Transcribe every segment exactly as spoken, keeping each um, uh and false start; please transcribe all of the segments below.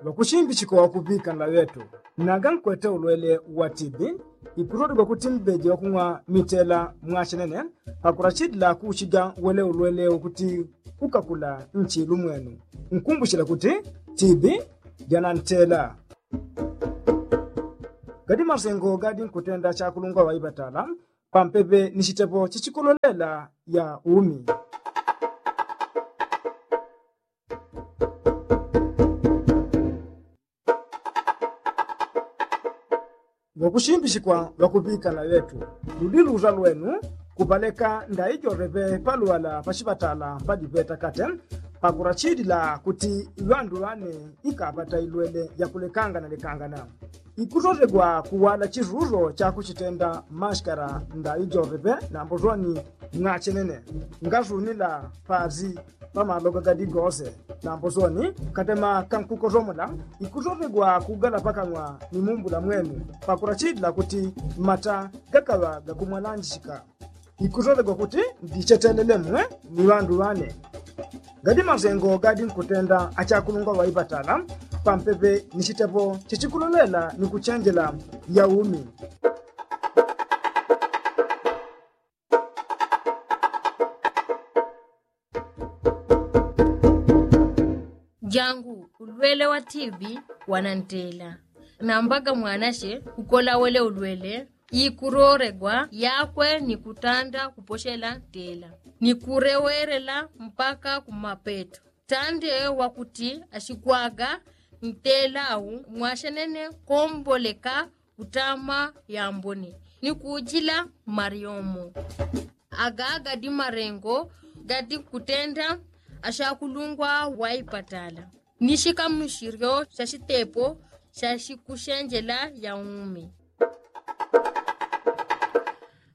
Ŵakushimbichikwa ŵakuŵika nlaŵetu, naga nkwete ulwele wa tibi, ikutotegwa kuti mbeje ŵakung'wa mitela mwachenene. Pakurachidila kuuchiga wele ulwele ukuti ukakula nchilu mwenu. Nkumbuchila kuti tibi janantela. Gadi masengo gadi nkutenda chakulungwa ŵaiŵatala pampepe ni chitepo chichikololela ya umi. Ŵakushimbichikwa ŵakuŵikana ŵetu, ludi luza lwenu kupaleka ndaijoreŵe palwala pachiŵatala padiŵeta kate. Pakurachidila kuti ŵandu ŵane ikaŵata ilwele yakulekanganalekangana. Ikutotegwa kuwala chiruro chakuchitenda mashikala ndaijoreŵe nambo zoni ng'achenene ngazunila pazi pamaloga gadi gose. Nambo soni katema kankukosomola ikusotegwa kugala pakang'wa ni mumbula mwenu. Pakurachidila kuti mata gakaŵa gakumwalanjishika ikusotegwa kuti ndichetelele mwe ni ŵandu ŵane. Gadi masengo gadi nkutenda achakulungwa ŵaipatala pampepe ni chitepo chichikulolela ni kuchenjela ya umi. Jangu ulwele wa tibi wanantela. Nambaga mwanache kukola wele ulwele ikuroregwa yakwe ni kutanda kupochela ntela ni kurewerela mpaka kumapeto. Tande wakuti achikwaga ntela au mwachenene komboleka kutama yambone ni kujila mariomo. Aga gadi marengo gadi kutenda ashakulungwa waipatala ni shikamushiryo sha shitepo sha shikushenjela ya umi.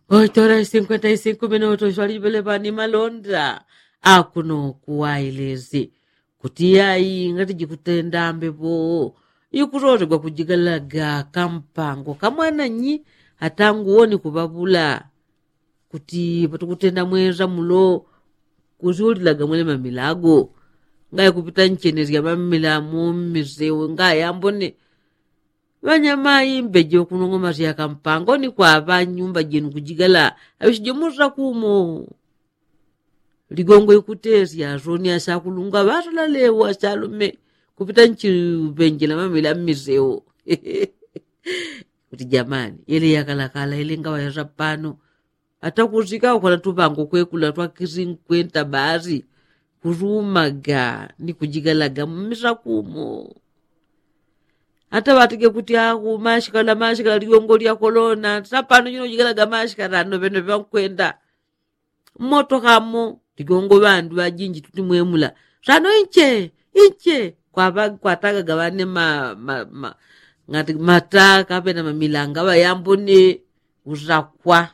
Oitora isinkwenta isinkume noto shwalibele pani malonda akuno kuwailezi kuti yai ngati jikutenda mbepo ikutotegwa kujigalaga kampango kamwananyi atanguwoni kuŵaŵula kuti patukutenda mweza mulo kusiulilaga mwele mamilago ngaya kupita nchenesya mamila mu mmiseu ngaya ambone. Ŵanyamai mbeje kunong'omasya kampango ni kwaŵa nyumba jenu kujigala aŵisijo murira kumo. Ligongo ikutesya soni ashakulungwa ŵatalalewo ashalume kupita nchiŵenjela mamila mmiseu. Kuti jamani yele yakalakala yele ngaŵayasa pano. Ata kusika ukala tuŵango kwekula twa kisinkwenta basi kusumaga ni kujigalaga mmisa kumo. Ata ŵatige kuti aku mashikala mashikala ligongo lya kolona sapano jino jigalaga mashikala ano ŵene ŵankwenda. Mmotoka mo ligongo ŵandu ŵajinji tuti mwemula sano inche inche kwaŵa kwatagaga ŵane ma- ma- ma- ngati mata kaŵena mamilanga ŵayambone. Usakwa